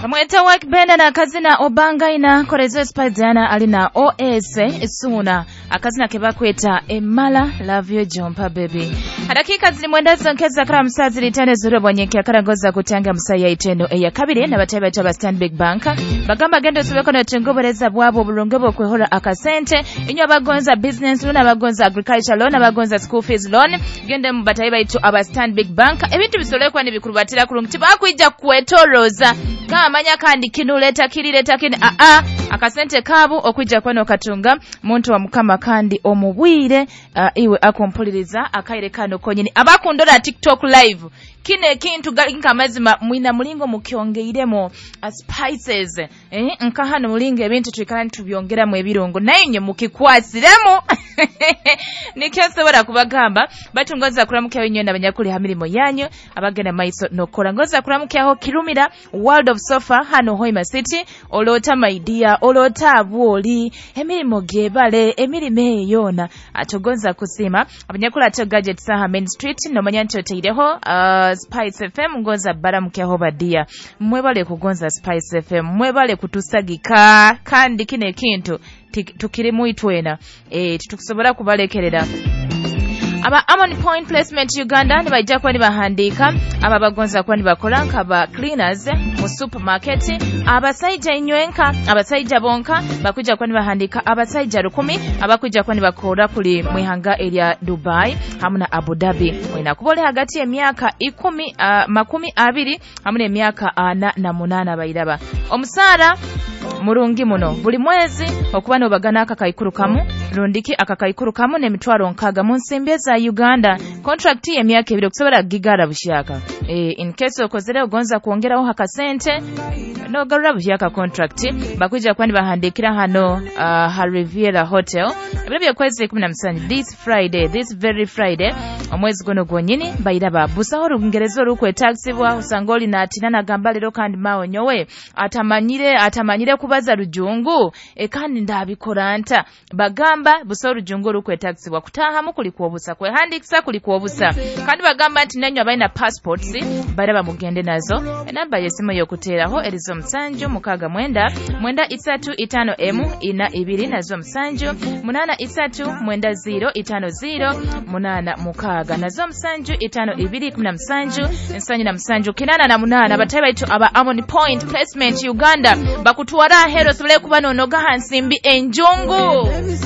Bamweta Wakbenda na akazina Obangaina korezo Spice alina OS Suna akazina kebakweta Emala Love You Jumpa Baby. Dakika ziri mwenda zonkeza kara musazi litane zuro bwanyeki akarangoza kutanga musaya iteno eya kabiri na batebe ba Stanbic Bank bagamba gendo sobeko na tengobereza bwabo obulungi bwokwehora akasente inyo abagonza business loan, abagonza agriculture loan, abagonza school fees loan, gende mu batayi baitu aba Stanbic Bank ebintu bisolekwa nibikurubatira kurungi tibakwija kwetoroza kamanya kandi kinuleta kirileta kini a akasente kabu okwijja kwano katunga muntu wa mukama kandi omubwire iwe akompuliriza akaire kano konyini abakundora TikTok live kine kintu gali nkamazima mwina mulingo mukyongeiremo spices nka hano mulingo ebintu tuikala tubyongeramu ebirungo naye mukikwasiremu nikyo nsobola kubagamba batungoza kuramukyaho inyo n'abanyakuli ha mirimo yanyu abagenda maiso nokora ngoza kuramukyaho Kirumira World of Sofa hano Hoima City olota maidia olota abwoli emirimo gyebale emirimo eyona atogonza kusima abanyakuli ato gadget saha Main Street nomanya nti oteireho Spice FM ngoza baramukyaho badia mwebale kugonza Spice FM mwebale kutusagika kandi kine kintu tukirimu itwena titukusobola kubalekerera. Aba Amon Point Placement Uganda nibaija kuba nibahandiika aba bagonza kuba nibakora nkaba cleaners mu supermarket, abasaija inywenka abasaija bonka bakuja kuba nibahandiika abasaija 10 abakuja kuba nibakora kuli mwihanga erya Dubai hamwe na Abu Dhabi mwina kubole hagati y'emyaka 20 hamwe n'emyaka 48 bairaba omusara murungi muno buli mwezi okuba nobagana akakaikuru kamu rundiki akakaikuru kamu n'emitwaro 6 mu nsimbi za Uganda contract y'emyaka 2 okusobola gigara bushaka in case okozere ogonza kuongeraho hakasente nogarura bushaka contract bakuja kwani bahandikira hano ha Riviera Hotel ebiro byakwezi 17 this Friday, this very Friday omwezi guno gwonyini bairaba busaho olungereza olukwetagisibwa usanga oli natina nagamba lero kandi mawo nyowe atamanyire kubaza rujungu kandi ndabikora nta bagamba busaho olujungu olukwetagisibwa kutahamu kuli kuobusa kwehandikisa kuli kuobusa kandi bagamba nti nanyo abalina passports baraba mugende nazo enamba y'essimu y'okuteeraho erizo 7 6 9 9 3 5 M 4 2 nazo 7 8 3 9 0 5 0 8 6 nazo 7 5 2 17 7 8 batayi baitu aba Amon Point Placement Uganda bakutwara ahero sobole kuba nonoga hansimbi enjungu.